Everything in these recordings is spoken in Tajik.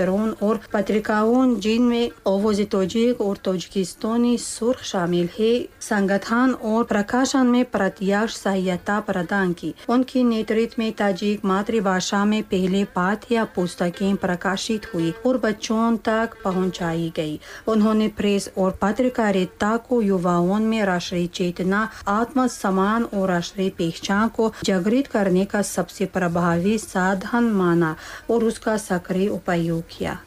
और पत्रिकाओं जिनमें ओवोज़ तोजिक और तोजिकिस्तानी सुर्ख शामिल है, संगठन और प्रकाशन में प्रत्यक्ष सहायता प्रदान की। उनके नेतृत्व में ताजिक मातृभाषा में पहले पाठ्य पुस्तकें प्रकाशित हुई और बच्चों तक पहुंचाई गई। उन्होंने प्रेस और पत्रकारिता को युवाओं में राष्ट्रीय चेतना, आत्मसम्मान और राष्ट्रीय पहचान को जागृत करने का सबसे प्रभावी साधन माना और उसका सक्रिय उपयोग किया।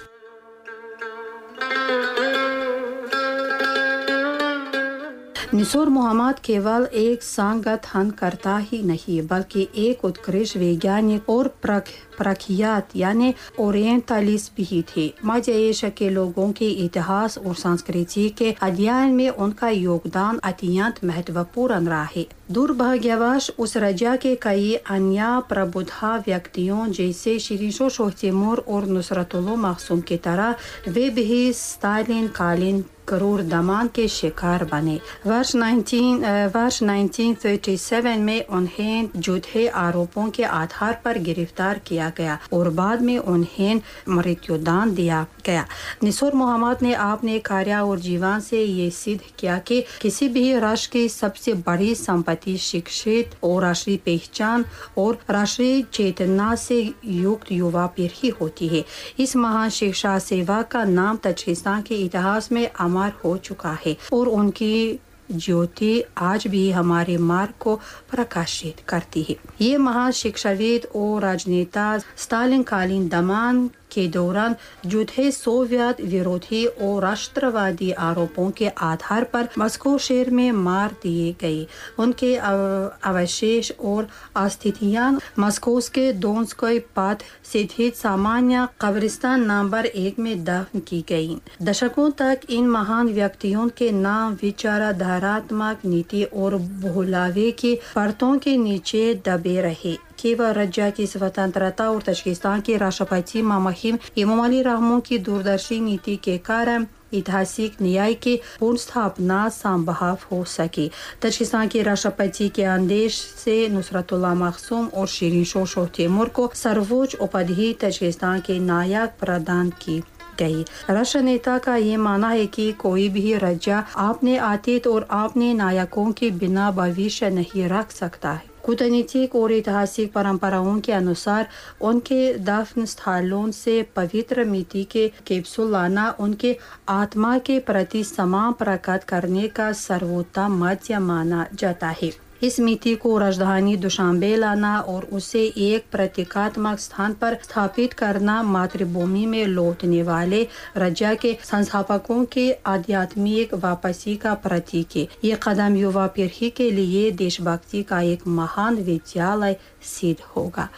निसोर मोहम्मद केवल एक संगठनकर्ता ही नहीं बल्कि एक उत्कृष्ट वैज्ञानिक और प्रख्यात यानी ओरिएंटलिस्ट भी थे। मध्य एशिया के लोगों के इतिहास और संस्कृति के अध्ययन में उनका योगदान अत्यंत महत्वपूर्ण रहा है। दुर्भाग्यवश उस राज्य के कई अन्य प्रबुद्ध व्यक्तियों जैसे शिरीन शोह तैमूर और नुसरतुल्लाह मखसूम की तरह वे भी स्टालिन कालीन क्रूर दमन के शिकार बने। वर्ष 1937 में उन्हें झूठे आरोपों के आधार पर गिरफ्तार किया गया और बाद में उन्हें मृत्युदंड दिया गया। निसोर मोहम्मद ने अपने कार्य और जीवन से ये सिद्ध किया कि किसी भी राष्ट्र की सबसे बड़ी संपत्ति शिक्षित और राष्ट्रीय पहचान और राष्ट्रीय चेतना से युक्त युवा पीढ़ी होती है। इस महान शिक्षा सेवा का नाम ताजिकिस्तान के इतिहास में अमर हो चुका है और उनकी ज्योति आज भी हमारे मार्ग को प्रकाशित करती है। ये महान शिक्षाविद और राजनेता स्टालिन कालीन दमन के दौरान झूठे सोवियत विरोधी और राष्ट्रवादी आरोपों के आधार पर मॉस्को शहर में मार दिए गए। उनके अवशेष और अस्थियां मॉस्को के दोन्स्कोय पथ स्थित सामान्य कब्रिस्तान नंबर 1 में दफन की गई। दशकों तक इन महान व्यक्तियों के नाम विचारधारात्मक नीति और भुलावे की परतों के नीचे दबे रहे। केवल राज्य की स्वतंत्रता और ताजिकिस्तान के राष्ट्रपति मामहिम इमोमाली रहमोन की दूरदर्शी नीति के कारण ऐतिहासिक न्याय की पुनर्स्थापना संभव हो सकी। ताजिकिस्तान के राष्ट्रपति के आदेश से नुसरतुल्लाह मखसूम और शिरीन शोह तैमूर को सर्वोच्च उपाधि ताजिकिस्तान के नायक प्रदान की गई। राष्ट्र नेता का ये मानना है कि कोई भी राज्य अपने अतीत और अपने नायकों के बिना भविष्य नहीं रख सकता है। कूटनीतिक और ऐतिहासिक परंपराओं के अनुसार उनके दफन स्थलों से पवित्र मिट्टी के कैप्सूल लाना उनके आत्मा के प्रति सम्मान प्रकट करने का सर्वोत्तम माध्यम माना जाता है। इस मिट्टी को राजधानी दुशांबे लाना और उसे एक प्रतीकात्मक स्थान पर स्थापित करना मातृभूमि में लौटने वाले राज्य के संस्थापकों के आध्यात्मिक वापसी का प्रतीक है। ये कदम युवा पीढ़ी के लिए देशभक्ति का एक महान विद्यालय सिद्ध होगा।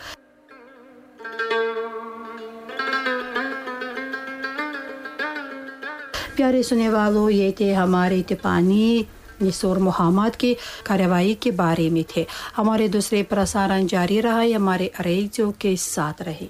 प्यारे सुनने वालों, ये थे हमारे टिपानी निसोर मोहम्मद की कार्रवाई के बारे में थे। हमारे दूसरे प्रसारण जारी रहा है, हमारे रेडियो के साथ रहे।